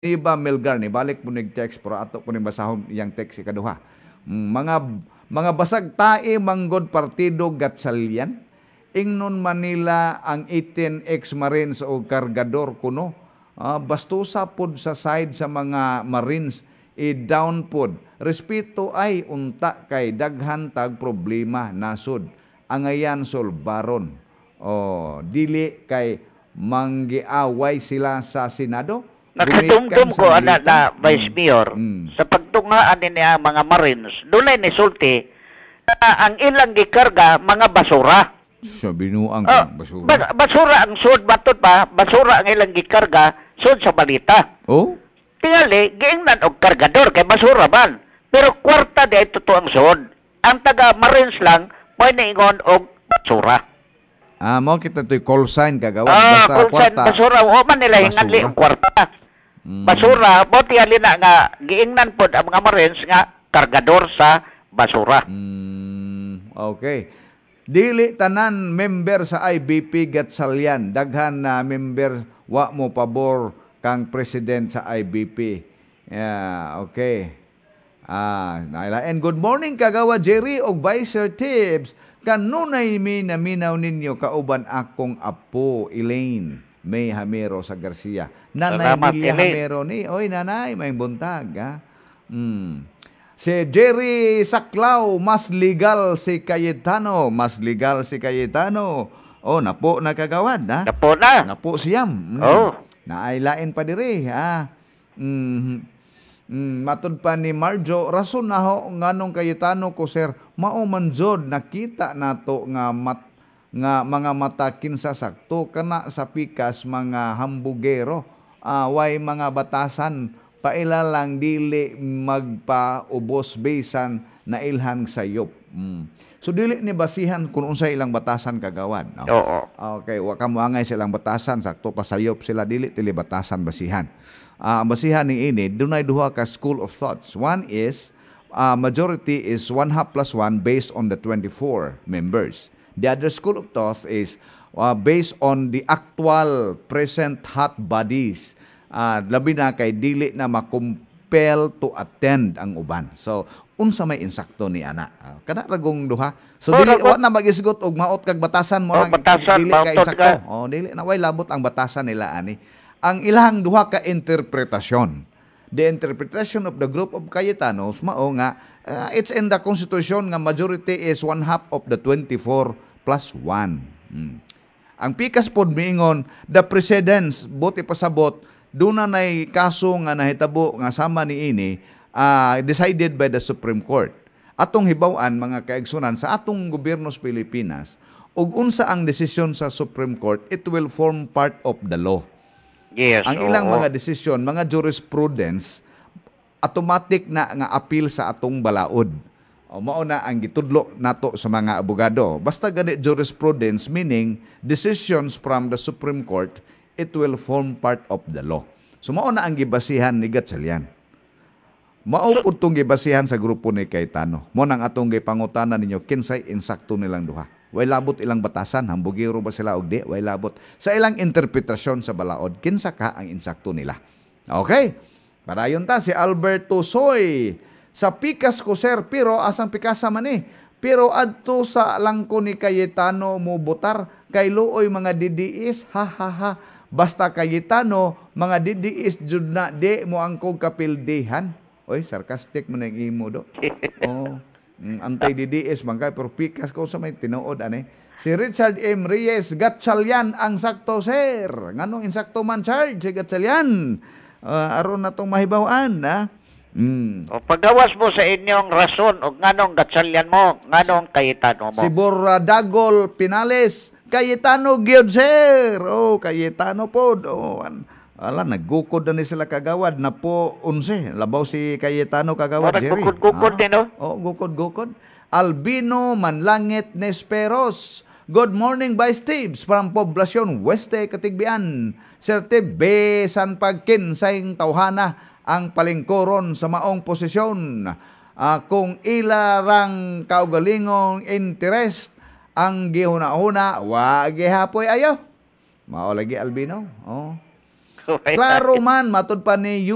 Iba Melgar ni balik po nig text, pero ato po ning basahon iyang text ikaduha. Mga basag tae manggod partido Gatchalian. Ingnon Manila ang 18 ex-Marines o kargador kuno. Bastusa pod sa side sa mga Marines, i-down pod. Respeto ay unta kay daghan tag problema nasod. Angayan solbaron. Oh, dili kay manggiaway sila sa Senado. Nakadumdum Gumikan ko sa ana milita. Na Vice Mayor, sa pagtungaan ni ang mga Marines, dunay ni sulti na ang ilang gikarga mga basura. Sa binuang Oh, basura. Basura ang sud matod pa, basura ang ilang gikarga sud sa balita. Oh? Tingali, giingnan og kargador kay basura man. Pero kwarta di ay totoo ang sud. Ang taga Marines lang may niingon og basura. Ah, mo kita to'y call sign, kagawad. Ah, Basta kung saan kwarta. basura, o man nila hinganli Basura. ang kwarta. Basura, mo tingali na nga giingnan pod ang mga Marines nga kargador sa basura. Okay. Dili tanan member sa IBP Gatchalian. Daghan na member wa mo pabor kang president sa IBP. Yeah, okay. Naila. And good morning, Kagawa Jerry og Vice Sir Tibbs. Kanunay mi naminaw ninyo kauban akong apo Elaine May Hamero sa Garcia. Nanay Salamat, Milia Elaine. Hamero ni. Oy, nanay, may buntag ha. Si Jerry Saklaw, mas legal si Cayetano, mas legal si Cayetano. Oh, napo na, kagawad ha. Napo na. Napo siyam. Oh. Naailain pa diri ha. Matud pa ni Marjo, rason na ho nganong Cayetano ko, sir, mao man jud nakita nato nga mat, nga mga mata kinsa sakto kana sa pikas mga hambugero. Way mga batasan, paila lang dili magpaubos bisan na ilhan sayop. So dili ni basihan kung unsay ilang batasan, kagawad, no? Oo. Okay, wa ka moangay sa ilang batasan, sakto pasayop sila, dili tili batasan basihan. Ang basihan ni ini dunay duha ka school of thoughts. One is majority is one half plus one based on the 24 members. The other school of thought is based on the actual present hot bodies. Labi na kay dili na makumpel to attend ang uban. So, unsa may insakto ni ana? Kana ragong duha. So Oh, dili ragon. wa na magisgot og maot kag batasan mo Oh, lang batasan, dili ka mautod insakto. ka. Oh, dili na, way labot ang batasan nila ani. Ang ilang duha ka interpretasyon. The interpretation of the group of Cayetanos mao nga it's in the constitution nga majority is one half of the 24 plus 1. Ang pikas pod miingon the precedence, buti pasabot duna nay kaso nga nahitabo nga sama ni ini, decided by the Supreme Court. Atong hibaw-an, mga kaigsunan, sa atong gobyerno sa Pilipinas, ug unsa ang desisyon sa Supreme Court, it will form part of the law. Ang ilang mga desisyon, mga jurisprudence, automatic na nga appeal sa atong balaod. O, mao na ang gitudlo nato sa mga abogado. Basta gani jurisprudence, meaning decisions from the Supreme Court, it will form part of the law. So mao na ang gibasihan ni Gatchalian. Mao pud tong gibasihan sa grupo ni Cayetano. Mo nang atong gipangutana ninyo kinsay insakto nilang duha. Way labot ilang batasan, hambugiro ba sila og di, way labot sa ilang interpretasyon sa balaod, kinsa ka ang insakto nila. Okay. Padayon ta si Alberto Soy. Sa pikas ko, sir, pero asang pikasa man eh. Pero adto sa langko ni Cayetano mo botar kay luoy mga DDS, ha ha ha. Basta Cayetano, mga DDS jud na di mo angkog kapildihan. Oy, sarcastic man ang imo do. Oh. Anti-DDS man kay, pero pikas ko sa may tinuod ani. Si Richard M. Reyes, Gatchalian ang sakto, sir. Nganong insakto man charge si Gatchalian? Aron na tong mahibaw-an, ha? O pagawas mo sa inyong rason o nganong Gatchalian mo, nganong Cayetano mo. Si Borradagol Pinales, Cayetano gyud, sir. Oh, Cayetano pod. Oh, ala, naggukod na ni sila, kagawad na po 11. Labaw si Cayetano, kagawad, Oh, Jerry. naggukod-gukod din, no? Oh, gukod-gukod. Albino Manlangit Nesperos. Good morning, Vice Tibbs from Poblacion Weste, Catigbian. Sir Tib, bisan pagkinsayng tawhana ang palingkoron sa maong posisyon. Kung ila rang kaugalingong interest ang gihuna-huna, wa gihapoy ayo. Mao lagi, Albino. Oh. Klaro man, matud pa ni